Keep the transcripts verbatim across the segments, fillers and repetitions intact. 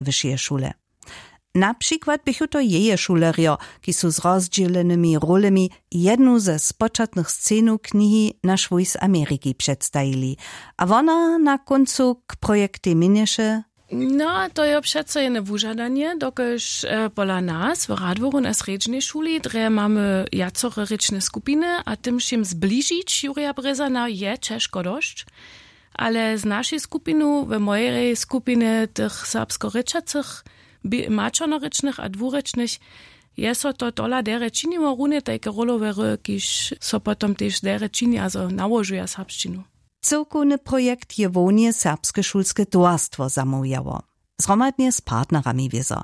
wyšeje šule. Na přikład běchu to jeje šulerjo, kiž su z rozdźělenymi rolemi jednu ze spočatnych scenow knihi Naš wójs Ameriki předstajili. A wona na kóncu k projektej měnješe: No, to je přeco jene wužadanje, dokelž pola nas w Radworju na srjedźnej šuli, drje mamy wjacore rěčne skupiny a tym wšěm zbližić Jurja Brězana je ćežko dosć. Ale z našej skupinu, w mojej skupinje tych serbskorěčacych, maćernorěčnych a dwurěčnych, je so to tola derje činiło runje tajke rolowjery, kiž so potom tež derje čini a zo nałožuja serbšćinu. Cyłkowny projekt je hłownje serbske šulske towarstwo zamołwjało, zhromadnje z partnerami wězo.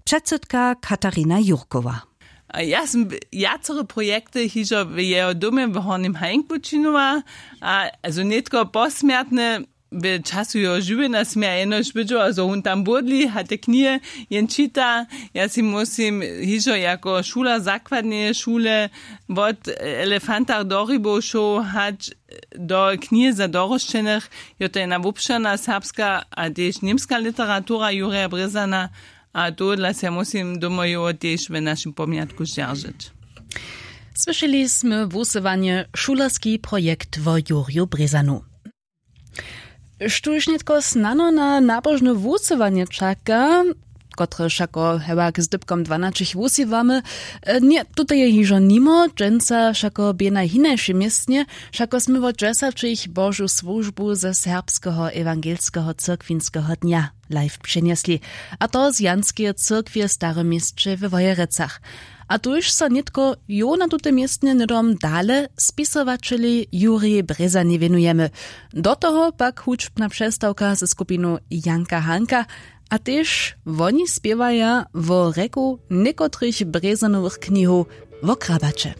Předsydka Katarina Jurkowa: A ja sym wjacore projekty hižo w jeho domje w Hornjem Hajnku činowała, a zo nětko posmjertne w času jeho žiwjenja směja jenož wydźeła zo wón tam błódli a te knihe jen čita. Ja sej muslim hižo jako šuler zakładneje šule wot elefantach do rybow šoł hač do knihe za dorosćenych. Jo, to je na wobšěrna serbska a tež němska literatura jurja brězana. A tohodla sej ja muslim domojowo tež w našim pomjatku zdźeržeć. Słyšeli smy wusyłanje šulerski projekt wo jurju brězanu. Štóž nětko snano na nabožne wusyłanje čaka, kotrež wšako hewak z dypkom dwanaćich wusyłamy, ně, tute je hižo nimo dźensa wšako bě na hinašej městnje. Wšako smy wot dźesaćich božu słužbu ze serbskeho ewangelskeho cyrkwinskeho dnja live přenjesli, a to z janskeje cyrkwje w starym měsće we wojerecach. A tuž so nětko jo na tutym městnje hnydom dale spisowaćelej jurjej brězanjej wěnujemy. Do toho pak hudźbna přestawka ze skupinu janka hanka. A tež woni spěwaja wo rjeku někotrych brězanowych knihow wo krabaće.